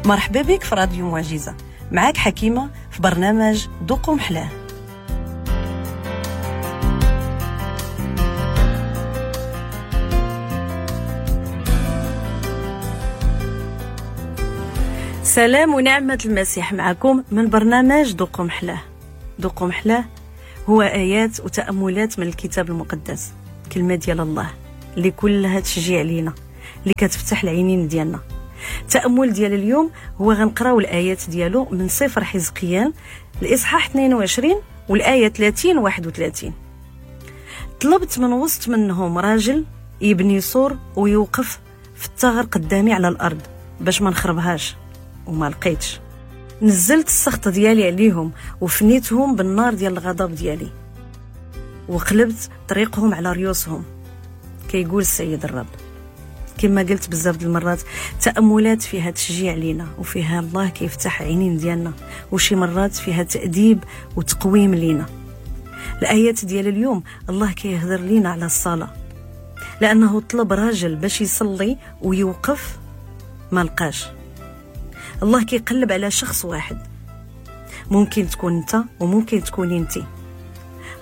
مرحبا بك في راديو معجزة، معاك حكيمة في برنامج ذوقوا محلاه. سلام ونعمة المسيح معكم من برنامج ذوقوا محلاه. ذوقوا محلاه هو آيات وتأملات من الكتاب المقدس، كلمة ديال الله اللي كلها تشجيع لينا، اللي كتفتح العينين ديالنا. التأمل ديال اليوم هو غنقراو الآيات ديالو من سفر حزقيال الإصحاح 22 والآية 30 31. طلبت من وسط منهم راجل يبني سور ويوقف في الثغر قدامي على الأرض باش ما نخربهاش، وما لقيتش. نزلت السخط ديالي عليهم وفنيتهم بالنار ديال الغضب ديالي، وقلبت طريقهم على ريوسهم، كيقول السيد الرب. كما قلت بزاف د المرات، تأملات فيها تشجيع لينا وفيها الله كيفتح عينين ديالنا، وشي مرات فيها تأديب وتقويم لينا. الآيات ديال اليوم الله كيهضر لينا على الصلاة، لأنه طلب راجل باش يصلي ويوقف ما لقاش. الله كيقلب على شخص واحد، ممكن تكون انت وممكن تكوني انت.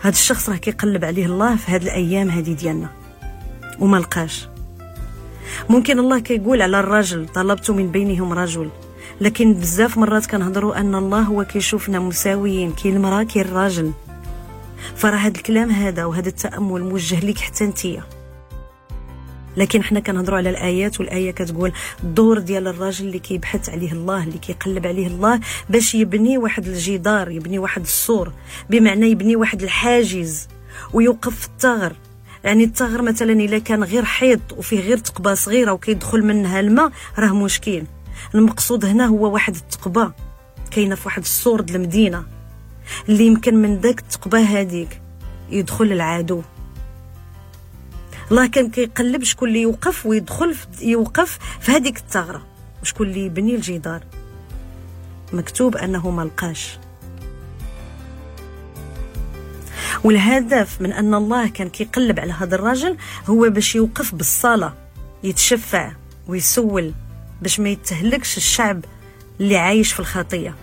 هذا الشخص راه كيقلب عليه الله في هذه الايام هذه ديالنا وما لقاش. ممكن الله كيقول على الرجل طلبت من بينهم رجل، لكن بزاف مرات كنهضروا ان الله هو كيشوفنا مساويين، كاين المراه كاين الراجل. فراه هذا الكلام هذا وهذا التامل موجه لك حتى انتيا. لكن حنا كنهضروا على الايات، والايه كتقول الدور ديال الراجل اللي كيبحث عليه الله، اللي كيقلب عليه الله باش يبني واحد الجدار، يبني واحد السور، بمعنى يبني واحد الحاجز ويوقف في الثغر. يعني الثغر مثلا الا كان غير حيط وفيه غير ثقبه صغيره وكيدخل منها الماء راه مشكل. المقصود هنا هو واحد الثقبه كاينه في واحد السور ديال المدينه، اللي يمكن من داك الثقبه هذيك يدخل العدو. الله كان كيقلب شكون اللي يوقف ويدخل يوقف في هذيك الثغره، وشكون اللي يبني الجدار. مكتوب انه ما لقاش. والهدف من ان الله كان كيقلب على هذا الرجل هو باش يوقف بالصلاه، يتشفع ويسول باش ما يتهلكش الشعب اللي عايش في الخطيه.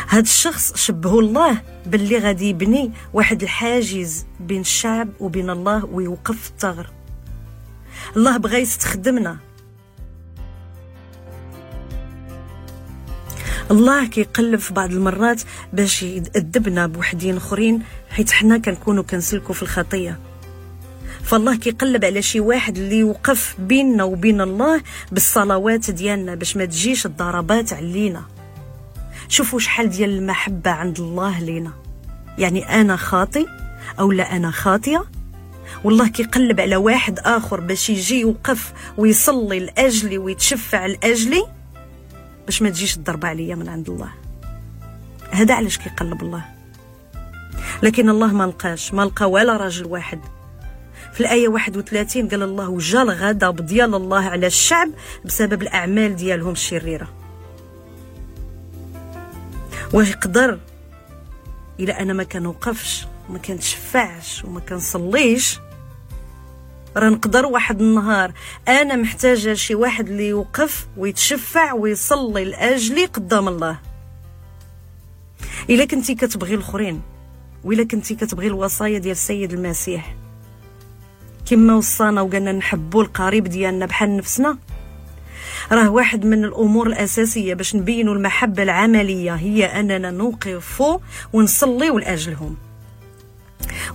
هذا الشخص شبهه الله باللي غادي يبني واحد الحاجز بين الشعب وبين الله ويوقف في الثغر. الله بغى يستخدمنا. الله كيقلب في بعض المرات باش يأدبنا بوحدين اخرين، حيت حنا كنكونوا كنسلكوا في الخطيه. فالله كيقلب على شي واحد اللي يوقف بيننا وبين الله بالصلوات ديالنا باش ما تجيش الضربات علينا. شوفوا شحال ديال المحبة عند الله لينا. يعني أنا خاطي أو لا أنا خاطية، والله كيقلب على واحد آخر باش يجي يوقف ويصلي لأجلي ويتشفع لأجلي باش ما تجيش الضربة عليا من عند الله. هذا علاش كيقلب الله. لكن الله ما لقاش، ما لقى ولا راجل واحد. في الآية 31 قال الله وجا الغضب ديال الله على الشعب بسبب الأعمال ديالهم الشريرة. ويقدر إلا أنا ما كنوقفش وما كنتشفعش وما كنصليش، راه نقدر واحد النهار أنا محتاجة شي واحد اللي يوقف ويتشفع ويصلي لأجلي قدام الله. إلا كنتي كتبغي الآخرين، وإلا كنتي كتبغي الوصايا ديال السيد المسيح كما وصانا وقالنا نحبوا القريب ديالنا بحال نفسنا، راه واحد من الأمور الأساسية باش نبينوا المحبة العملية هي أننا نوقف ونصلي لأجلهم.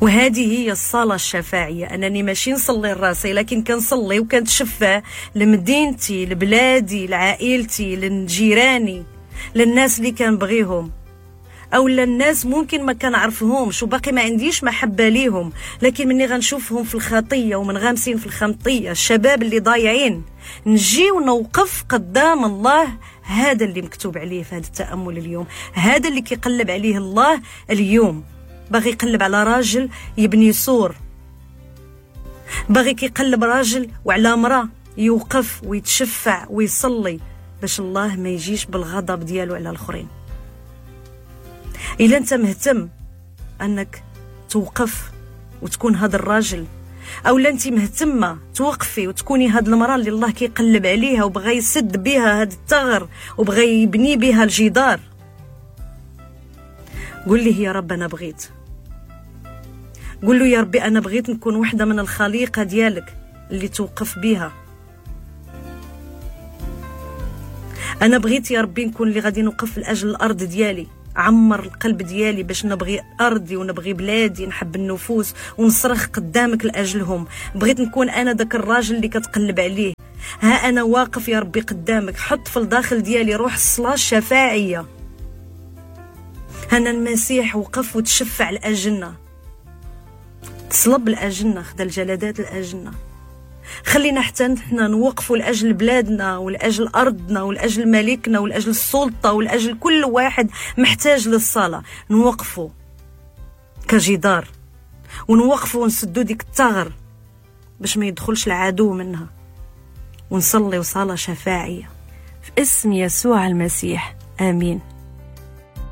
وهذه هي الصلاة الشفاعية، أنني ماشي نصلي لراسي، لكن كنصلي وكنتشفع لمدينتي، لبلادي، لعائلتي، لجيراني، للناس اللي كنبغيهم، او الناس ممكن ما كنعرفهمش وباقي ما عنديش محبه ليهم، لكن مني غنشوفهم في الخطيه ومن غامسين في الخمطيه، الشباب اللي ضايعين، نجي ونوقف قدام الله. هذا اللي مكتوب عليه في هذا التامل اليوم، هذا اللي كيقلب عليه الله اليوم. باغي يقلب على راجل يبني سور، باغي كيقلب راجل وعلى امراه يوقف ويتشفع ويصلي باش الله ما يجيش بالغضب ديالو على الاخرين. إلا أنت مهتم أنك توقف وتكون هذا الراجل او لا انت مهتمه توقفي وتكوني هاد المراه اللي الله كيقلب عليها وبغى يسد بها هاد الثغر وبغى يبني بها الجدار، قول لي يا رب انا بغيت. قول له يا ربي انا بغيت نكون وحده من الخليقه ديالك اللي توقف بها. انا بغيت يا ربي نكون اللي غادي نوقف لاجل الارض ديالي. عمر القلب ديالي باش نبغي ارضي ونبغي بلادي، نحب النفوس ونصرخ قدامك لاجلهم. بغيت نكون انا داك الراجل اللي كتقلب عليه. ها انا واقف يا ربي قدامك، حط في الداخل ديالي روح الصلاه الشفاعيه. هنا المسيح وقف وتشفع لاجلنا، تصلب لاجلنا، خدا الجلدات لاجلنا. خلينا حتى نحنا نوقفوا لاجل بلادنا ولاجل ارضنا ولاجل ملكنا ولاجل السلطه ولاجل كل واحد محتاج للصلاه. نوقفوا كجدار ونوقفوا ونسدوا ديك الثغر باش ما يدخلش العدو منها، ونصلي صلاه شفاعيه في اسم يسوع المسيح. امين.